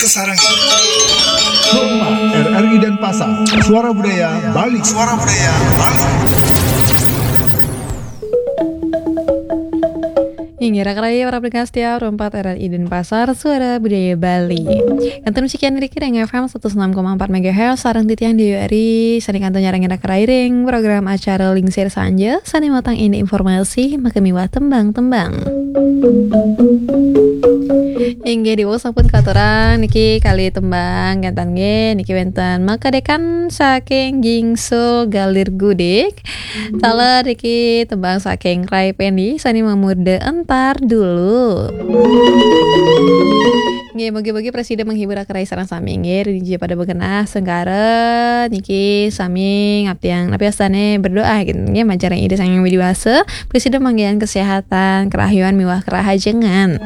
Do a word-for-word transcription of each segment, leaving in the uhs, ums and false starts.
Sarang. Hormat R R I Denpasar, Suara Budaya Bali. Suara Budaya Bali. Inggih, raka rahayu para pendengar setia, Ruang Empat R R I Denpasar, Suara Budaya Bali. Kantun sekian dari Kireng F M seratus enam koma empat megahertz, sareng titiang Dewi Ari, sane kantun nyarengin raka rahayu ring program acara Lingsir Sanja, sane matang indik informasi, maka miwah tembang-tembang. Inggih, diwau sampun katurang niki kalih tembang, kenten nggih, niki wenten Makadekan saking Gingsul Galir Gudik. Taler niki tembang saking Rai Pendi, sane mamurda Entar Dulu. Nggih, mugi-mugi prasida menghibur raka rahayu sareng sami nggih, ring dija pada magenah sengkara niki sami ngaptiang, napi wastane berdoa gitu nggih, majeng ring Ida Sang Hyang Widi Wasa, prasida manggihin kesehatan, kerahayuan miwah kerahajengan.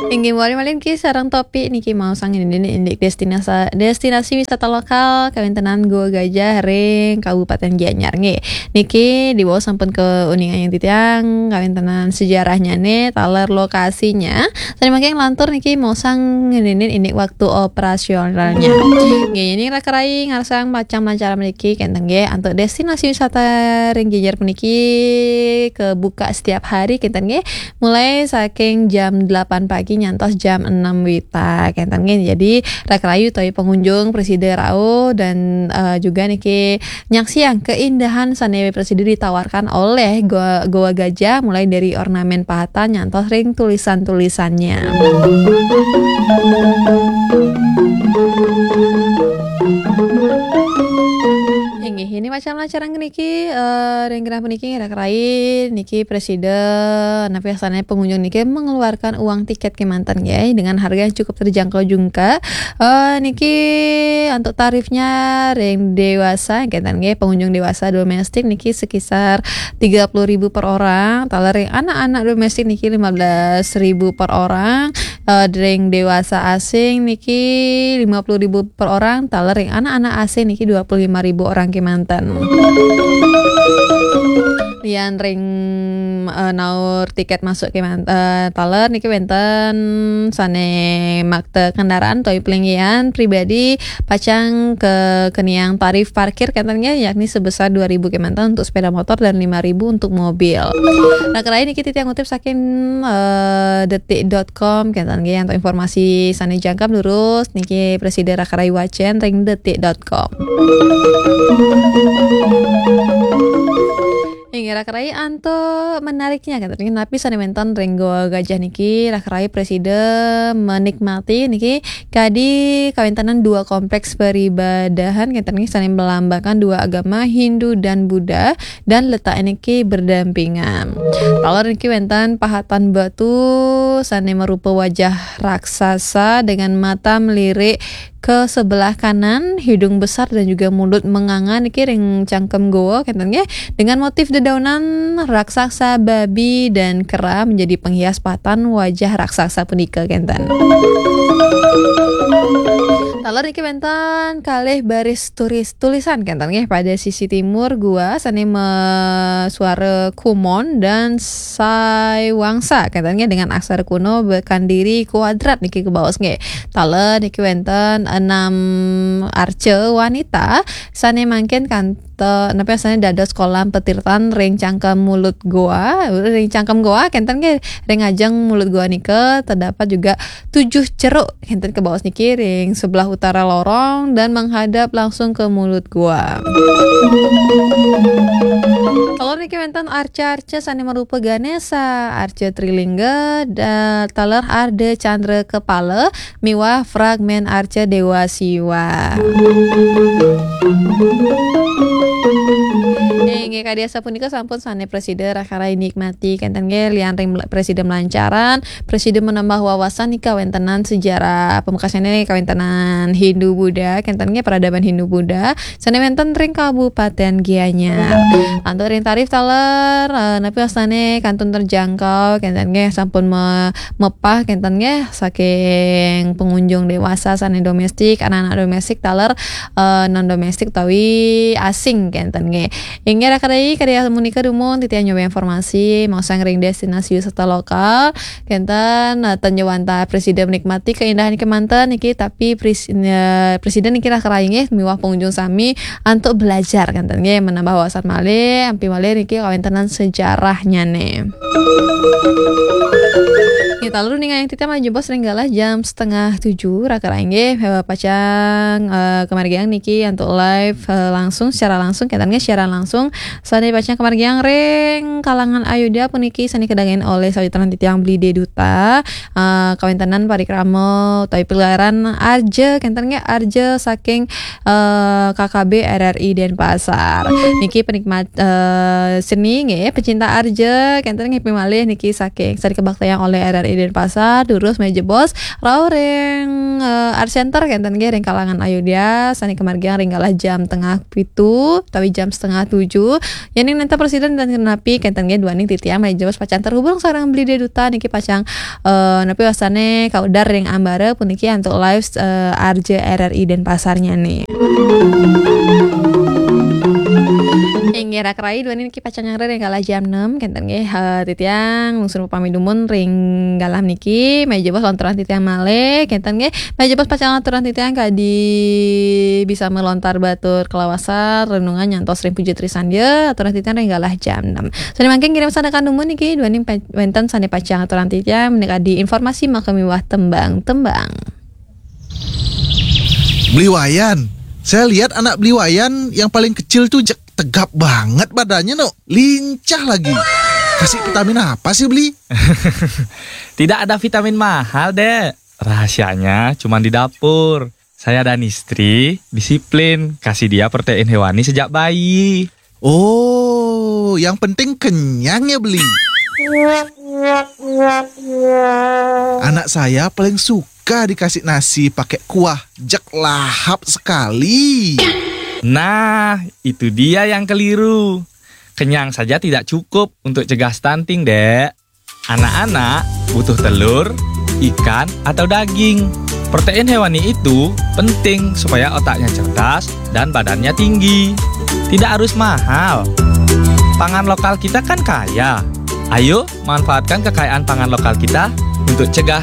Inggih, malih-malih niki sareng Topi niki maosang indik, indik destinasi, destinasi wisata lokal kawentenan Goa Gajah ring Kabupaten Gianyar nggih. Niki diwau sampun kauningang titiang kawentenan sejarahnyane, taler lokasinya. Sane mangkin lantur niki maosang ngeninin indik waktu operasionalnya. Nggih, yen raka rahayu ngarsang macem-macem niki kenten nggih, antuk destinasi wisata ring Gianyar puniki kebuka setiap hari kenten nggih. Mulai saking jam delapan pagi nyantos jam enam wita kenten nggih. Jadi raka rahayu utawi pengunjung prasida rauh dan, eh, juga niki nyaksiang keindahan sane prasida ditawarkan oleh Goa, Goa Gajah, mulai dari ornamen pahatan nyantos ring tulisan-tulisannya. Inggih, yen macem-macem niki, eh, ring genah puniki raka rahayu niki prasida, napi wastane pengunjung niki mengeluarkan uang tiket kemanten nggih, dengan harga yang cukup terjangkau juga. Eh, niki untuk tarifnya ring dewasa, kenten nggih, pengunjung dewasa domestik niki sekitar tiga puluh ribu per orang, taler ring anak-anak domestik niki lima belas ribu per orang, eh, ring dewasa asing niki lima puluh ribu per orang, taler ring anak-anak asing niki dua puluh lima ribu orang kemanten. Lian ring, eh, naur tiket masuk keman-, eh, taler niki wenten sane makta kendaraan utawi palinggihan pribadi pacang kekeniang tarif parkir kenten nggih, yakni sebesar dua ribu kemanten untuk sepeda motor dan lima ribu untuk mobil. Raka rahayu niki titiang ngutip saking, eh, detik dot com kenten nggih, untuk informasi sane jangkep lurus niki prasida raka rahayu wacen ring detik dot com. Inggih, raka rahayu antuk menariknya, kenten nggih, napi sane wenten ring Goa Gajah niki, raka rahayu prasida menikmati niki kadi kawentenan dua kompleks peribadahan, kenten nggih, sane melambangkan dua agama Hindu dan Buddha, dan letak niki berdampingan. Taler niki wenten pahatan batu sane marupa wajah raksasa dengan mata melirik ke sebelah kanan, hidung besar dan juga mulut menganga niki ring cangkem goa, kenten nggih, dengan motif dedaunan raksasa, babi, dan kera menjadi penghias pahatan wajah raksasa punika, kenten. Taler niki wenten kalih baris tulis, tulisan, kenten nggih, pada sisi timur goa sane masuara kumon dan saiwangsa, kenten nggih, dengan aksara kuno bekandiri kuadrat niki kebaos nggih. Taler niki wenten enam arca wanita sane mangkin kantos, napi sane dados kolam petirtan ring cangkem mulut goa, ring cangkem goa, kenten nggih, ring ajeng mulut goa nika terdapat juga tujuh ceruk, kenten kebaos niki, ring sebelah utara lorong dan menghadap langsung ke mulut goa. Taler niki wenten arca-arca sane marupa Ganesha, arca Trilingga, da-, taler Arda Candra Kepala, miwah fragmen arca Dewa Siwa. Inggih, kadi asapunika sampun sane prasida raka rahayu nikmati, kenten nggih, lian ring mel-, prasida melancaran, prasida menambah wawasan nika kawentenan sejarah, pamekasane kawentenan Hindu Buddha, kenten nggih, peradaban Hindu Buddha sane wenten ring Kabupaten Gianyar. Antuk ring tarif taler, eh, napi wastane kantun terjangkau, kenten nggih, sampun me-, mepah, kenten nggih, saking pengunjung dewasa sane domestik, anak-anak domestik, taler, eh, non domestik utawi asing, kenten nggih. Inggih, Kadai, kadai amun nika dumun titiang nyoba informasi maosang ring destinasi wisata lokal. Kenten, eh, tan jawanta presida menikmati keindahan kemanten niki, tapi pres-, eh, presida niki raka rai nggih miwah pengunjung sami antuk belajar kenten nggih, menambah wawasan malih, ampih malih niki kawentenan sejarahnya nih. Nggih, talu ning ayang titiang malih jebos ring galah jam setengah tujuh raka rai nggih, eh, pacang, eh, kemargiang niki antuk live, eh, langsung, secara langsung, kenten nggih siaran langsung. Sane pacang kemargiang ring kalangan Ayodya puniki sane kadangin oleh sawitran titiang Beli Deduta, eh, kawentenan parikrama utawi pagelaran arja, kenten nggih arja saking, eh, K K B R R I Denpasar. Niki penikmat, eh, seni nggih, pecinta arja, kenten nggih malih niki saking sane kabaktayang oleh R R I Denpasar, durus malih jebos rauh ring, eh, Art Center, kenten nggih ring kalangan Ayodya, sane kemargiang ring galah jam tengah pitu utawi jam setengah tujuh. Yening nenten presida nenten napi, kenten nggih duaning titiang malih jebos pacang terhubung sareng Beli Deduta niki pacang, eh, napi wastane kaudar ring ambara puniki antuk live, eh, arja R R I Denpasarnya nih. Inggih raka rai duaning niki pacang nyanggra ring galah jam enam, kenten nggih, eh, titiang lungsur pamit dumun ring galah niki, malih jebos lontaran titiang malih, kenten nggih, malih jebos pacang lontaran titiang kadi bisa melontar batur kalawasan, renungan nyantos ring puji trisandia, aturan titiang ring galah jam enam. Sane mangkin ngirim sandekan dumun niki, duaning pa-, wenten sane pacang aturan titiang, menika di informasi maka miwah tembang-tembang. Beli Wayan, saya lihat anak Beli Wayan yang paling kecil tuh jek tegap banget badannya, no. Lincah lagi. Kasih vitamin apa sih, Beli? Tidak ada vitamin mahal, Dek. Rahasianya cuma di dapur. Saya dan istri disiplin kasih dia protein hewani sejak bayi. Oh, yang penting kenyang ya, Beli. Anak saya paling suka dikasih nasi pakai kuah, jek lahap sekali. Nah, itu dia yang keliru. Kenyang saja tidak cukup untuk cegah stunting, Dek. Anak-anak butuh telur, ikan, atau daging. Protein hewani itu penting supaya otaknya cerdas dan badannya tinggi. Tidak harus mahal. Pangan lokal kita kan kaya. Ayo, manfaatkan kekayaan pangan lokal kita untuk cegah